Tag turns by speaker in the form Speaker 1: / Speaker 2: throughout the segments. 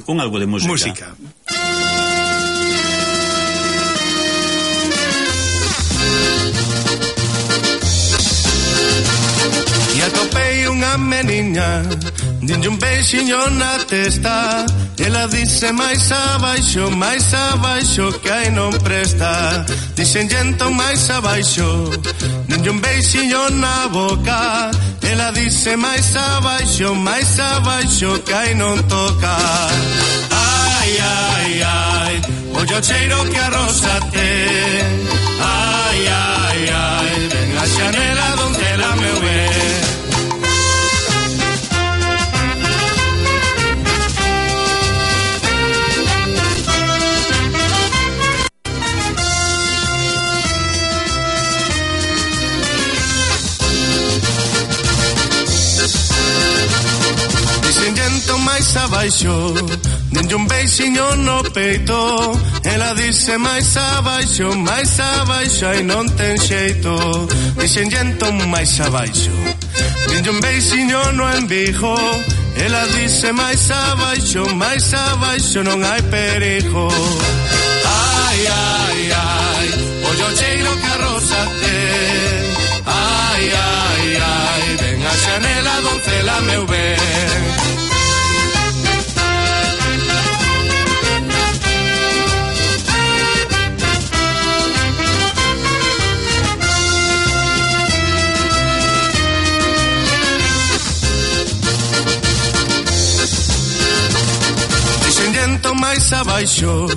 Speaker 1: con algo de música.
Speaker 2: Música.
Speaker 3: E atopei unha meniña, dinlle un beixiño na testa. Ela dice máis abaixo, que aí non presta. Dixen entón máis abaixo, dinlle un beixiño na boca. Ela dice máis abaixo, que aí non toca. Ai, ai, ai, ollo cheiro que a rosa ten. Ai, ai, ai, ven a xanela donde la meu ben. Máis abaixo, denlle un beixiño no peito. Ela dice máis abaixo, ai non ten xeito. Dixen entón máis abaixo, denlle un beixiño no embigo. Ela dice máis abaixo, non hai perigo. Ai, ai, ai, ollo cheiro que a rosa ten. Ai, ai, ai, ven a xanela doncela meu ben. Máis abaixo,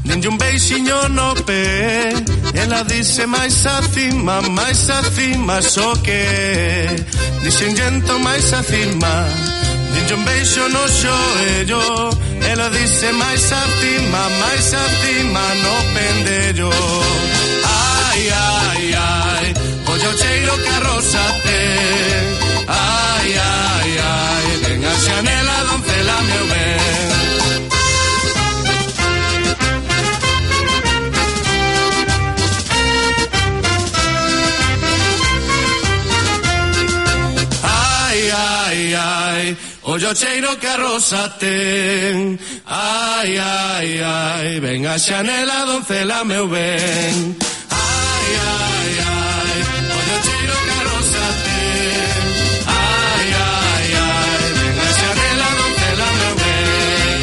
Speaker 3: denlle un beixiño no pé. Ela dice máis acima, só que. Dixen entón máis acima, denlle un beixo no xoello. Ela dice máis acima, no pendello. Ai, ai, ai, ollo cheiro que a rosa ten. Ai, ai, ai, ven a xanela doncela meu ben. Ollo cheiro que a rosa ten. Ai, ai, ai, ven a xanela doncela meu ben. Ai, ai, ai, ollo cheiro que a rosa ten. Ai, ai, ai, ven a xanela doncela meu ben.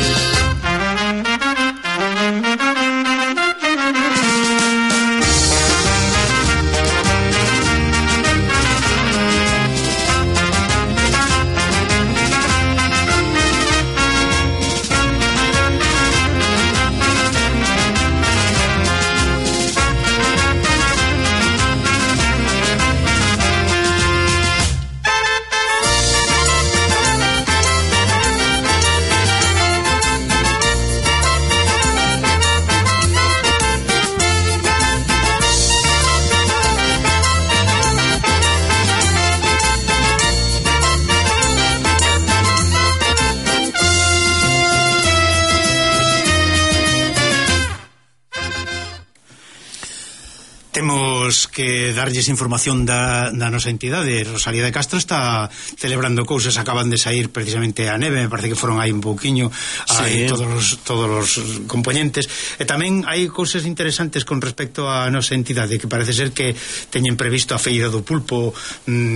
Speaker 2: Temos que darlles información da nosa entidade. Rosalía de Castro está celebrando cousas, acaban de sair precisamente a neve, me parece que foron aí un pouquiño, sí. todos os componentes, e tamén hai cousas interesantes con respecto a nosa entidade, que parece ser que teñen previsto a feira do pulpo,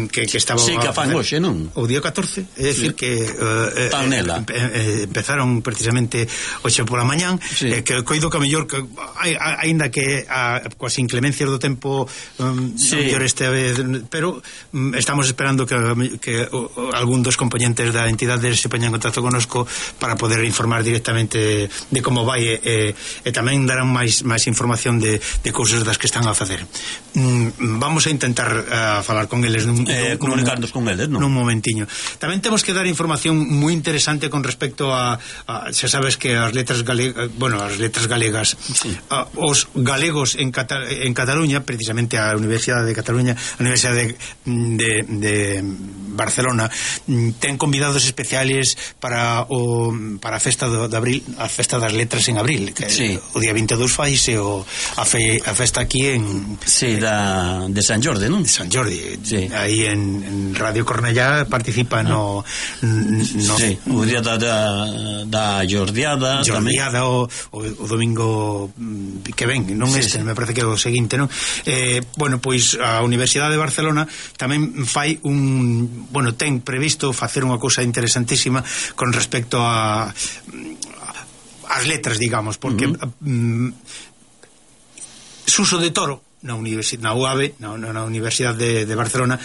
Speaker 2: que estaba
Speaker 1: sí, que a fan hoxe, non?
Speaker 2: O día 14, é dicir que empezaron precisamente hoxe pola mañán, sí. Que coido que a mellor que aínda que coas inclemencias do tempo sí. mellor este vez, pero estamos esperando que algún dos componentes da entidade se poña en contacto connosco para poder informar directamente de como vai, e tamén darán máis información de cousas das que están a facer. Vamos a intentar falar con eles
Speaker 1: comunicarnos con eles, non?
Speaker 2: Nun momentiño. Tamén temos que dar información moi interesante con respecto a xa sabes que as letras galegas, sí. Os galegos en Cataluña Cataluña, precisamente a Universidade de Cataluña, a Universidade de Barcelona, ten convidados especiales para a festa de abril, a festa das letras en abril, que o día 22 faise a festa aquí en
Speaker 1: de San Jordi, non?
Speaker 2: De San Jordi, aí en Radio Cornellá participa o
Speaker 1: día da Jordiada
Speaker 2: o domingo que ven, non me parece que é o seguinte, non? Bueno, pois a Universidade de Barcelona tamén fai ten previsto facer unha cousa interesantísima con respecto a as letras, digamos, porque Suso de Toro na UAB, na Universidade de Barcelona,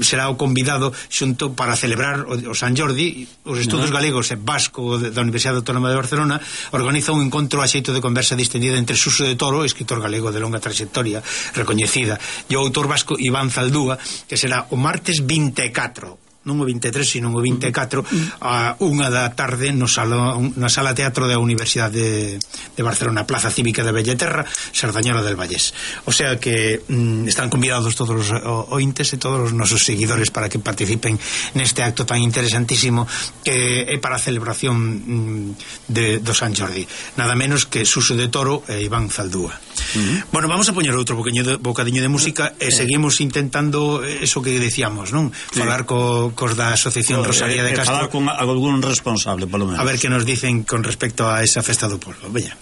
Speaker 2: será o convidado xunto para celebrar o San Jordi. Os estudos galegos e vasco da Universidade Autónoma de Barcelona organiza un encontro a xeito de conversa distendida entre Suso de Toro, escritor galego de longa trayectoria recoñecida, e o autor vasco Iván Zaldúa, que será o martes 24, non o 23, sino o 24, a 1 da tarde na sala teatro da Universidade de Barcelona, Plaza Cívica de Bellaterra, Sardañola del Vallés. O sea que están convidados todos os ointes e todos os nosos seguidores para que participen neste acto tan interesantísimo que é para a celebración do San Jordi. Nada menos que Suso de Toro e Iván Zaldúa. Bueno, vamos a poñer outro bocadiño de música e seguimos intentando eso que decíamos, non? Falar cos da Asociación Rosalía de Castro,
Speaker 1: falar con algún responsable, polo menos,
Speaker 2: a ver que nos dicen con respecto a esa festa do pueblo. Veña.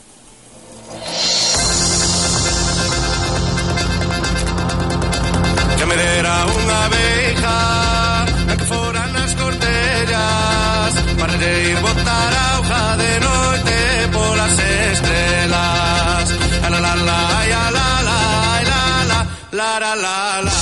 Speaker 3: Que me dera unha abeja a que fora nas cortellas para ir botar a hoja de noite polas estrelas. La la la ya la la la la la la la la.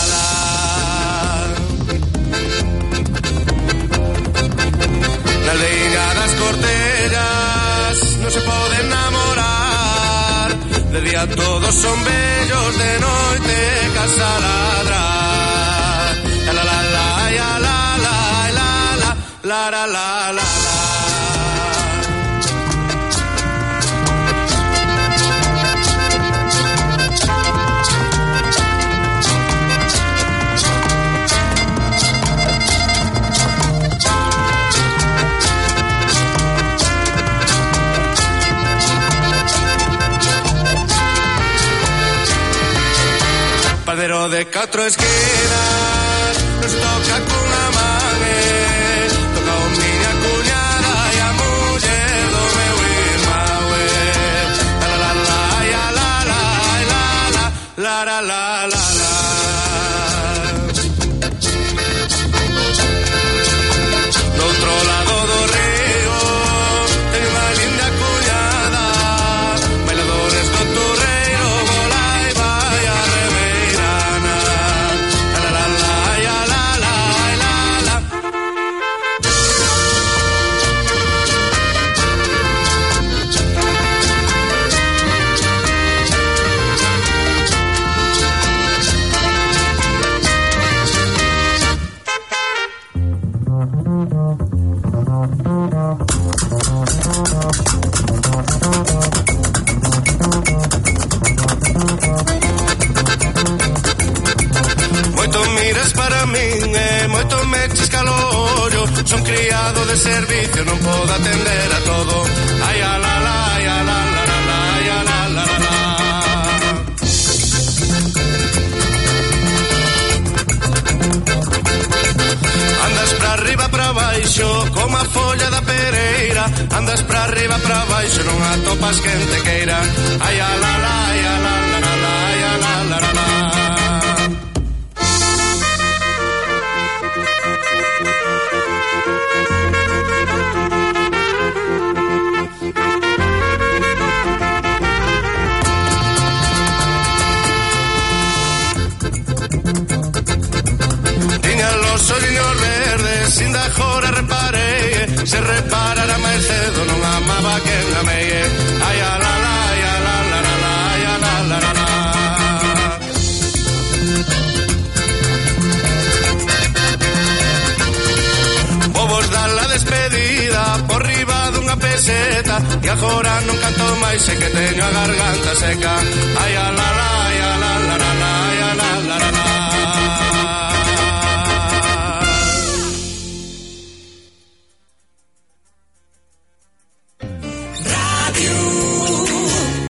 Speaker 3: Na aldeia das cortellas non se pode enamorar, de día todos son bellos, de noite casa ladrar. La la la la ya la la la la la la la. Padero de 4 esquinas nos toca cunha man, toca o miña cuñada e a muller do meu irmão. La la la ya la la la la la la la. Do outro lado do río ten unha linda cuñada, bailadores do torreiro, volai vai a reveirana. La la la ya la la la. Moito miras para min e moito me chisca o ollo, son criado de servicio, non podo atender a todo. Ai a la la ya la la la la ya la la la la. Andas pra arriba pra baixo como a folla da pereira, andas pra arriba pra baixo non atopas quen te queira. Ai a la la ya la la la la ya la la la la. Tiña los olliños verdes, sin da jora reparei, se reparara máis cedo non amaba quen amei. Ai a la la ya la la la la ya la la la la. Vos dar la despedida por riba dunha peseta e agora non canto máis, sei que teño a garganta seca. Ai a la la